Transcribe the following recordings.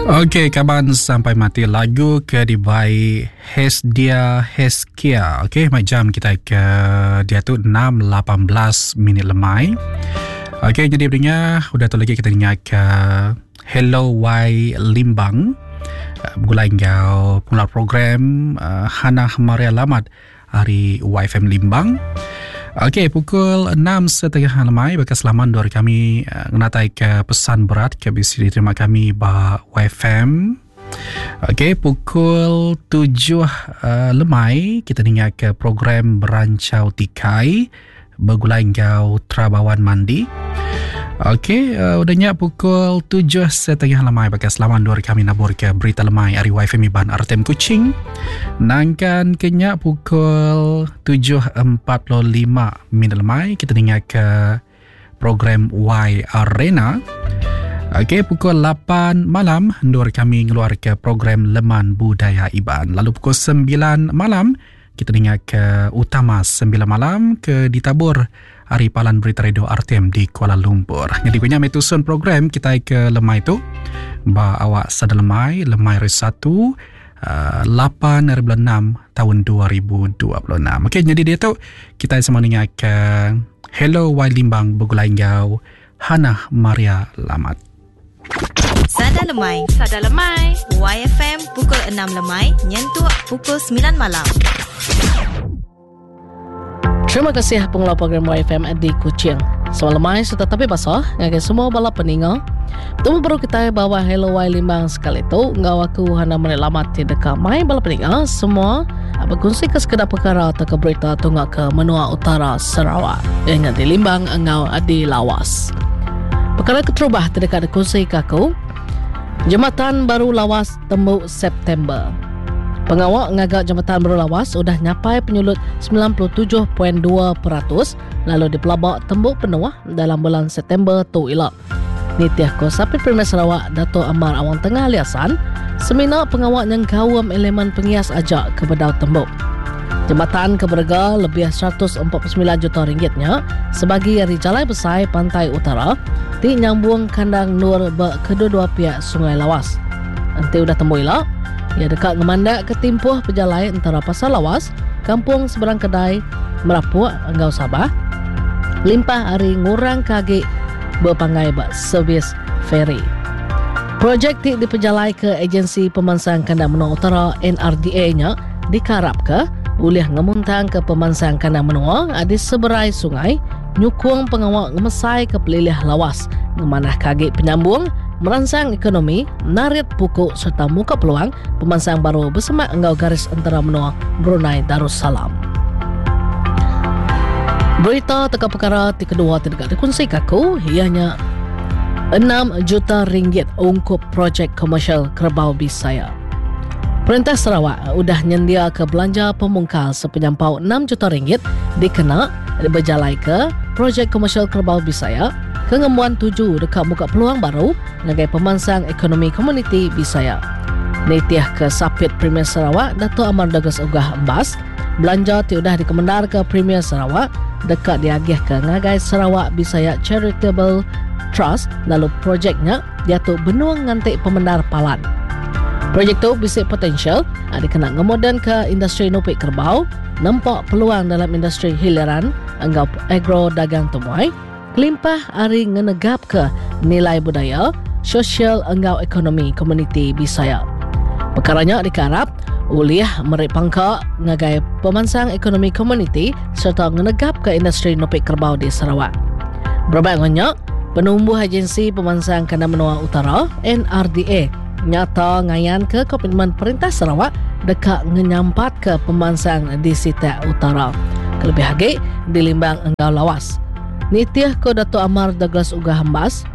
Okey kaban sampai mati lagu ke dibai Hesdia Heskia. Okey mai jam kita ke diatu 6.18 minit lemai. Okey jadi pendengar udah tu lagi kita dengar ke Hello Y Limbang. Eh, begulai enggau pengeluar program uh, Hana Maria Lamat ari YFM Limbang. Okey, pukul 6.30 lemai baka selaman dua kami uh, ngenatai ke pesan berat ke bisi diterima kami ba YFM. Okey, pukul 7 uh, eh, lemai kita dengar ke program Berancau Tikai begulai enggau Trabawan Mandi. Okey, uh, udah nya pukul 7.30 lemai pakai selaman dua kami nabur ke berita lemai ari YFM Iban RTM Kuching. Nangkan kenya pukul 7.45 minit lemai kita dengar ke program Y Arena. Okey, pukul 8 malam ndur kami ngeluar ke program Leman Budaya Iban. Lalu pukul 9 malam Kita ninga ke utama 9 malam ke ditabur ari palan berita radio RTM di Kuala Lumpur. Jadi punya meh tusun program kita ke lemai tu ba awak sada lemai lemai hari 1 8 hari bulan 6 tahun 2026. Okey jadi dia tu kita sama ninga ke Hello Y Limbang begulai enggau Hannah Maria Lamat. Sada Lemai. Sada Lemai. YFM pukul 6 lemai nyentuk pukul 9 malam. Terima kasih pengelola program YFM di Kuching. Selamat lemai serta tapi basah ngagai semua bala peninga. Betemu baru kitai bawa Hello Y Limbang sekali tu enggau aku Hana Meri Lamat ti deka mai bala peninga semua bekunsi ke sekeda perkara atau ke berita tunga ke menua utara Sarawak. Iya nya di Limbang enggau di Lawas. Pekara keterubah ti deka dikunsika aku, Jematan Baru Lawas tembu September. Pengawa ngaga Jematan Baru Lawas udah nyapai penyulut 97.2% lalu dipelaba tembu penuh dalam bulan September tu ila. Nitih ko Sapit Premier Sarawak Datuk Amar Awang Tengah Ali Hasan, semina pengawa nyengkaum elemen pengias aja ke bedau tembu. Jematan ke berega lebih 149 juta ringgit nya sebagi ari Jalai Besai Pantai Utara ti nyambung kandang endur ba kedua-dua piak Sungai Lawas. Enti udah tembu ila, iya deka ngemandakka timpuh pejalai entara Pasar Lawas, Kampung Seberang Kedai, Merapuk enggau Sabah, limpah ari ngurangka agi bepanggai ba servis feri. Projek ti dipejalaika Ejensi Pemansang Kandang Menua Utara, NRDA, nya dikarapka ulih ngemuntangka pemansang kandang menua di seberai sungai, nyukung pengawa ngemesaika pelilih Lawas, ngemanahka agi penyambung, meransang ekonomi, narit puku sereta muka peluang pemansang baru besemak enggau garis entara menua Brunei Darussalam. Berita teka pekara ti kedua ti deka dikunsika aku iya nya 6 juta ringgit ungkup projek komersial Kerebau Bisaya. Perintah Sarawak udah nyendiaka belanja pemungkal sepenyampau 6 juta ringgit dikena bejalaika projek komersial Kerebau Bisaya ke ngembuan tuju deka muka peluang baru ngagai pemansang ekonomi komuniti Bisaya. Nitihka Sapit Premier Sarawak Datuk Amar Douglas Uggah Embas, belanja ti udah dikemendarka Premier Sarawak deka diagihka ngagai Sarawak Bisaya Charitable Trust lalu projek nya diatu benung nganti pemendar palan. Projek tu bisi potensial dikena ngemodenka industri nupi kerebau, nempa peluang dalam industri hiliran enggau agro dagang temuai, kelimpah ari ngenegapka nilai budaya, sosial enggau ekonomi komuniti Bisaya. Pekara nya dikearap ulih meri pangka ngagai pemansang ekonomi komuniti sereta ngenegapka industri nupi kerebau di Sarawak. Berebak enggau nya, Penumbuh Agensi Pemansang Kandang Menua Utara, NRDA, nyata ngayanka komitmen Perintah Sarawak deka ngenyampatka pemansang di sitak utara, kelebih agi di Limbang enggau Lawas. Nitih ku Datuk Amar Douglas Uggah Embas,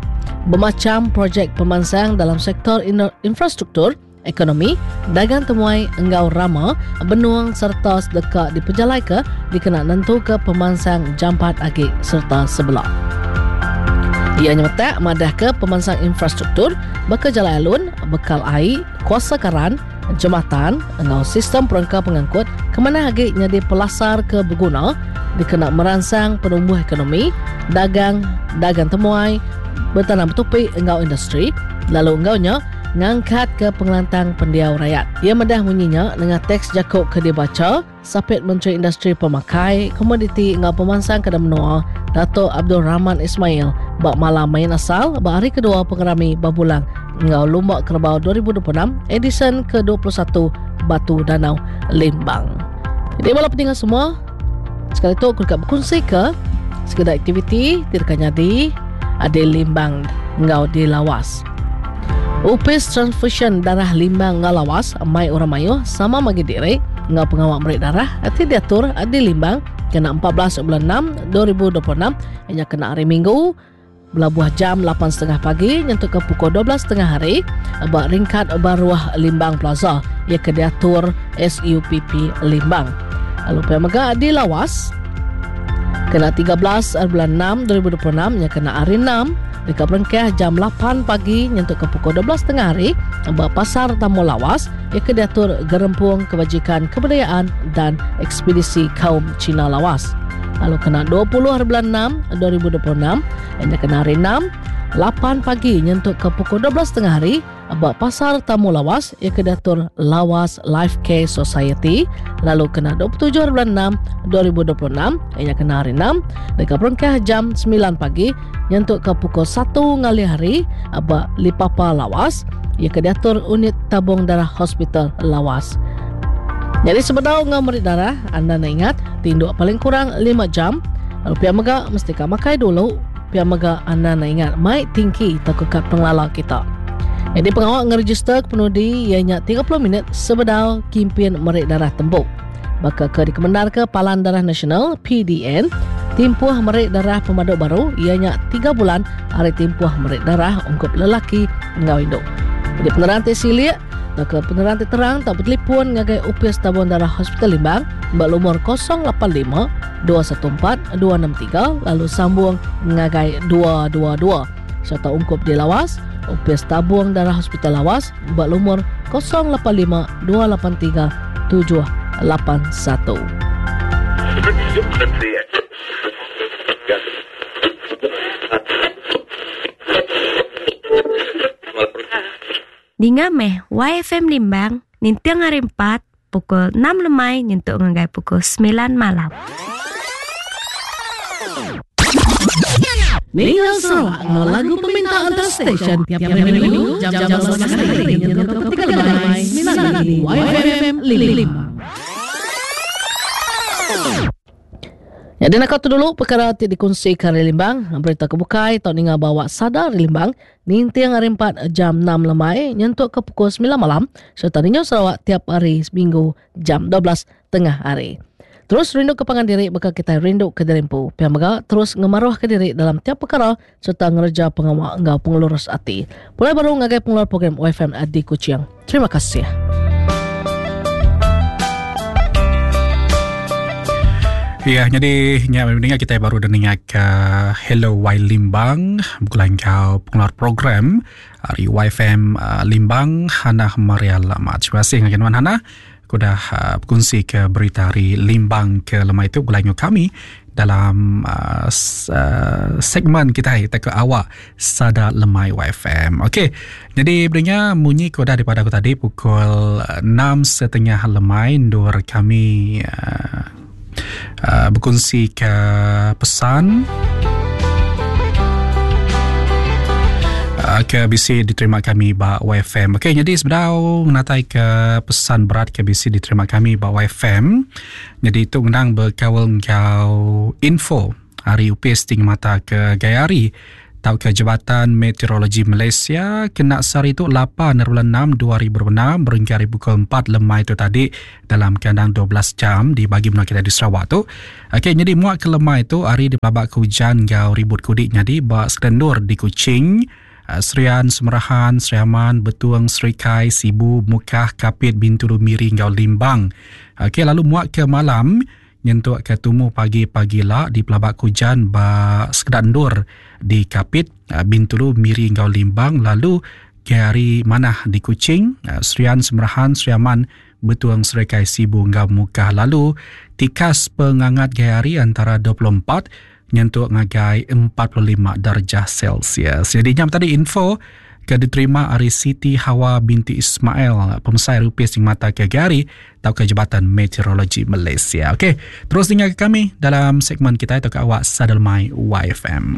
bemacham projek pemansang dalam sektor infrastruktur, ekonomi, dagang temuai enggau rama benung sereta deka dipejalaika dikena nentuka pemansang jampat agi sereta sebela. Iya nyemetak madahka pemansang infrastruktur baka jalai alun, bekal ai, kuasa karan, jematan enggau sistem perengka pengangkut ke manah agi nyadi pelasar ke beguna dikena meransang penumbuh ekonomi, dagang, dagang temuai, betanam betupi enggau industri lalu enggau nya. ngangkatka pengelantang pendiau rayat. Iya madah munyi nya nengah teks jaku ke dibacha Sapit Menteri Industri Pemakai, Komoditi enggau Pemansang Kandang Menua, Datuk Abdul Rahman Ismail ba Malam Main Asal ba hari kedua Pengerami Babulang enggau Lumba Kerebau 2026 edisyen ke 21 Batu Danau Limbang. Jadi bala peninga semua, sekali tu aku deka bekunsika sekeda aktiviti ti deka nyadi di Limbang enggau di Lawas. Opis Transfusyen Darah Limbang enggau Lawas mai orang mayuh sama magi diri enggau pengawa meri darah ti diatur di Limbang kena 14 bulan 6 2026 iya nya kena hari Minggu belabuh jam 8.30 pagi nyentuk ke pukul 12.30 hari ba ringkat baruh Limbang Plaza iya ke diatur SUPP Limbang. Lalu pia mega di Lawas kena 13 bulan 6 2026 nya kena hari 6 Deka berengkah jam 8 pagi nyentuk ke pukul 12 tengah hari ba Pasar Tamu Lawas iya ke diatur Gerempung Kebajikan Kebudayaan dan Ekspedisi Kaum Cina Lawas. Lalu kena 20 hari bulan 6 2026 iya kena hari 6 8 pagi nyentuk ke pukul 12 tengah hari Ba Pasar Tamu Lawas, iya ke diatur Lawas Life Care Society lalu kena 27 hari bulan 6 2026, iya nya kena hari 6, deka berengkah jam 9 pagi nyentuk ke pukul 1 ngalih hari ba Lipapa Lawas, iya ke diatur Unit Tabung Darah Hospital Lawas. Nyadi sebedau enggau meri darah, anda enda ingat tinduk paling kurang 5 jam lalu pia mega mesti ka makai dulu. Pia mega anda enda ingat mai tingki tauka kad pengelala kita. Nyadi pengawa ngerejister kepenudi iya nya 30 minit sebedau kimpin meri darah tembu. Baka ke dikemendarka Palan Darah Nasional, PDN, timpuh meri darah pemadu baru iya nya tiga bulan ari timpuh meri darah ungkup lelaki enggau indu. Nyadi penerang ti silik tauka penerang ti terang tau betelipon ngagai Opis Tabung Darah Hospital Limbang ba lumur 085 214 263 lalu sambung ngagai 222 sereta ungkup di Lawas, Opis Tabung Darah Hospital Lawas ba lumur 085 283 781. Dinga meh YFM Limbang ninting hari empat pukul 6 lemai nyentuk ngagai pukul 9 malam. Ninga Sarawak enggau lagu peminta antara stesen tiap minggu jam-jam 11 hari nyentuk ke pukul 3 lemai semina di YFM Limbang. Nyadi naka tu dulu perkara ti dikunsika ari Limbang. Berita ke bukai tau ninga bawa sada ari Limbang ninting hari empat jam 6 lemai nyentuk ke pukul 9 malam sereta ninga Sarawak tiap hari seminggu jam 12 tengah hari. Terus rindu ke pangan diri baka kitai rindu ke diri empu. Pia mega terus ngemaruh ke diri dalam tiap perkara sereta ngereja pengawa enggau pengelurus ati. Pulai baru ngagai pengeluar program OFM di Kuching. Terima kasih. Ya, jadi nya mendengar kita baru dah dengar ke Hello Y Limbang bukan kau pengeluar program hari YFM uh, Limbang Hana Maria Lama. Terima kasih dengan Wan Hana. Aku dah uh, berkongsi ke berita hari Limbang ke lemai itu bulan kami dalam uh, uh, segmen kita kita ke awak sada lemai YFM. Okey. Jadi berinya munyi koda daripada aku tadi pukul 6.30 lemai ndur kami uh, uh, berkongsi ke pesan uh, ke bisi diterima kami ba YFM. Okey, jadi sebedau natai ke pesan berat ke bisi diterima kami ba YFM. Jadi tu ngenang bekaul enggau info hari upis ti ngemata ke gaya hari tauka Jabatan Meteorologi Malaysia kena sehari tu 8 bulan 6 2026 berengkah ari pukul 4 lemai tu tadi dalam kandang 12 jam di bagi menua kita di Sarawak tu. Okey nyadi muak ke lemai tu hari dipelaba ke ujan enggau ribut kudik nyadi ba sekeda endur di Kuching, Serian, Semerahan, Sri Aman, Betong, Serikai, Sibu, Mukah, Kapit, Bintulu, Miri enggau Limbang. Okey lalu muak ke malam nyentuk ke tumu pagi pagila dipelaba ke ujan ba sekeda endur di Kapit, Bintulu, Miri enggau Limbang lalu ke hari manah di Kuching, Serian, Semerahan, Sri Aman, Betong, Serikai, Sibu enggau Mukah. Lalu tikas pengangat gaya hari antara 24 nyentuk ngagai 45 darjah Celsius. Jadi nya tadi info ke diterima ari Siti Hawa binti Ismail, pemesai Rupis Mata ke Gari tauka Jabatan Meteorologi Malaysia. Okey, terus dengar ke kami dalam segmen kita atau ke awak Sadelmai YFM.